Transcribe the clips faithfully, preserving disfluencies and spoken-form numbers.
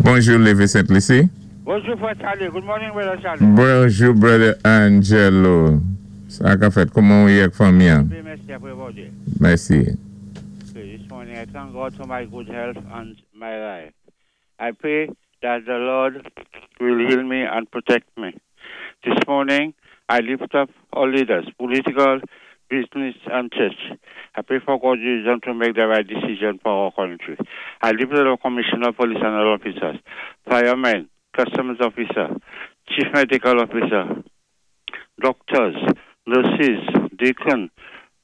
Bonjou, Lévé Sent Lisi. Bonjou, Fwè Charlie. Good morning, Brother Charlie. Bonjou, Brother Angelo. Sa ka fèt, kouman ou yé ak fanmi an? Byen, mèsi apwé Bondye. Mèsi. Okay, this morning I thank God for my good health and my life. I pray that the Lord will heal me and protect me. This morning I lift up all leaders, political, business, and church. I pray for God's wisdom to make the right decision for our country. I lift up the commissioner, police and all officers, firemen, customs officer, chief medical officer, doctors, nurses, deacon,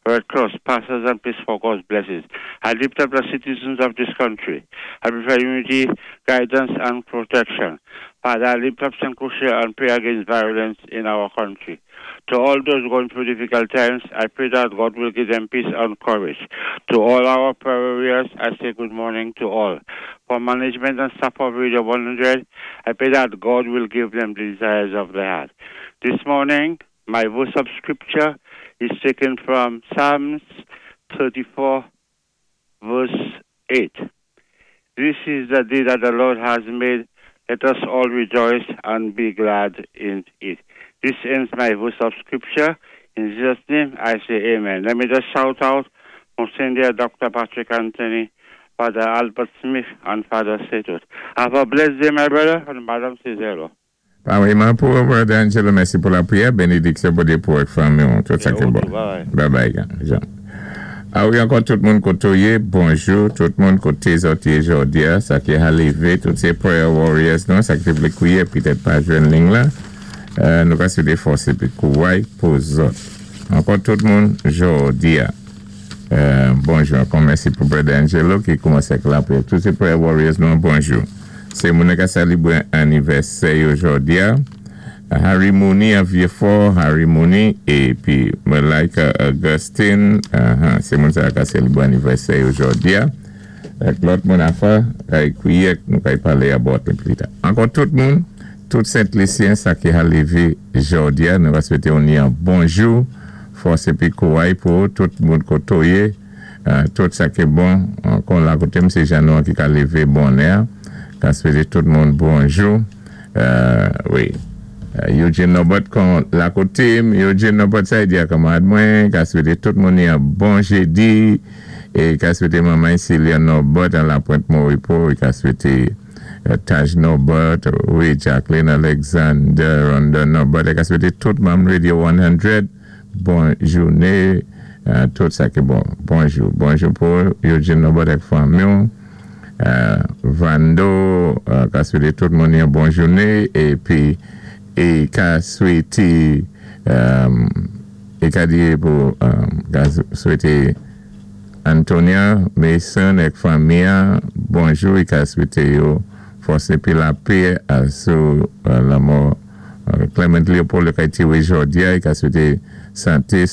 Red Cross, pastors and priests for God's blessings. I lift up the citizens of this country. I pray for unity, guidance, and protection. Father, I lift up Saint Lucia and pray against violence in our country. To all those going through difficult times, I pray that God will give them peace and courage. To all our prayer warriors, I say good morning to all. For management and staff of Radio one hundred, I pray that God will give them the desires of their heart. This morning, my verse of scripture is taken from Psalms thirty-four, verse eight. This is the day that the Lord has made. Let us all rejoice and be glad in it. This ends my verse of scripture. In Jesus' name, I say amen. Let me just shout out Monsignor Doctor Patrick Anthony, Father Albert Smith, and Father Setot. Have a blessed day, my brother, and Madam Cizelo. Parèyman pou Brother Angelo, mèsi pou lapriyè, benediksyon pou de pou ak fanmi, tout sa ki bon. Bye bye, Jean. A wi, ankò tout moun koté ou yé, bonjou, tout moun koté zòt yé jòdi a, sa ki a lévé, tout sé prayer warriors nou, sa ki té vlé kwiyé, pitèt pa jwenn ling la, nou ka swété fòs épi kouway pou zòt. Ankò tout moun jòdi a. Bonjou, ankò mèsi pou Brother Angelo ki koumansé ak lapriyè. Tout sé prayer warriors nou, bonjou. Sé moun ka salibré anivèsè yo jòdi a. Harry Mooney a Vieux-Fort, Harry Mooney, épi Malika Augustine, sé moun sa ka salibré anivèsè yo jòdi a. Ak lòt moun afa, kay kwiyé, nou kay palé about li pli ta. Ankò tout moun, tout Sent Lisyen sa ki a lévé jòdi a, nou va swété ou ni an bonjou, fòs épi kouway pou tout moun koté ou yé, tout sa ki bon, kon la koté m sé Janou ki ka lévé bonè, ka swété tout moun bonjou, wi. Eugene Norbert kon la koté m, Eugene Norbert sa yi di akamad mwen, ka swété tout moun ni an bon jédi, é ka swété maman Celia Norbert an la Pointe Moripo, e ka swété Taj Norbert, wi, Jacqueline Alexander, Ronda Norbert, e ka swété tout manm Radio one hundred, bon jouné, tout sa ki bon, bonjou, bonjou pou Eugene Norbert ak fanmi yo, Vando, ka swété tout moun ni an bon jouné, épi é ka swété é ka di pou ka swété Antonia Mason ek fanmi an bonjou, é ka swété yo fòs épi lapè sou lanmò Clement Leopold ka tiwé jòdi a, é ka swété santé,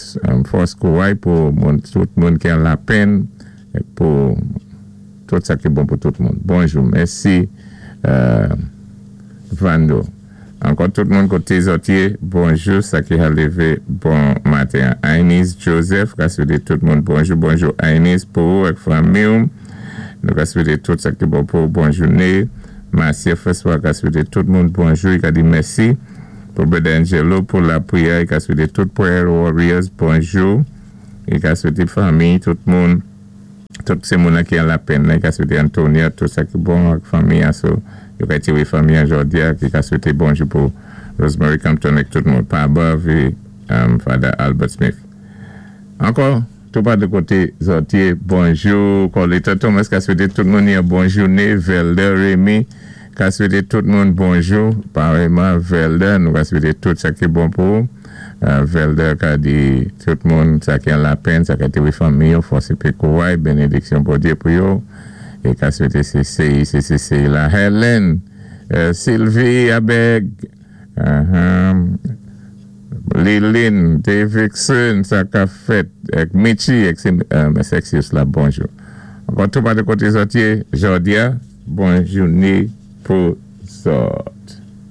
fòs, kouway pou tout moun ki an lapenn, pou tout sa ki bon pou tout moun. Bonjou, mèsi Vando. Ankò tout moun koté zòt yé, bonjou, sa ki a lévé bon maten. Ainis Joseph, ka swété tout moun bonjou, bonjou Ainis pou ou ak fanmi ou. Nou ka swété tout sa ki bon pou bon jouné. Marcia François ka swété tout moun bonjou, i ka di mèsi pou Brother Angelo pou lapriyè, i ka swété tout prayer warriors bonjou. I ka swété fanmi, tout moun, tout sé moun ki an lapenn, i ka swété Antonia, tout sa ki bon ak fanmi aso. Yo ka tiwé fanmi an jòdi a, ki ka swété bonjou pou Rosemary Compton ek tout moun. Pa above, Father Albert Smith. Ankò, tou pa de koté zòt yé, bonjou. Colita Thomas ka swété tout moun yon bon jouné. Velder Remy ka swété tout moun bonjou. Parèyman, Velder, nou ka swété tout sa ki bon pou. Velder ka di tout moun sa ki an lapenn, sa ka tiwé fanmi yo, fòs épi kouway, benediksyon Bondye pou yo. É ka swété sé C I, C C C la Helen, Sylvie Abeg, Lilin, Davidson, sa ka fèt, ek Michi, ek Sexius la, bonjou. Ankò tou pa de koté zòt yé, jòdi a, bon jouné pou zòt.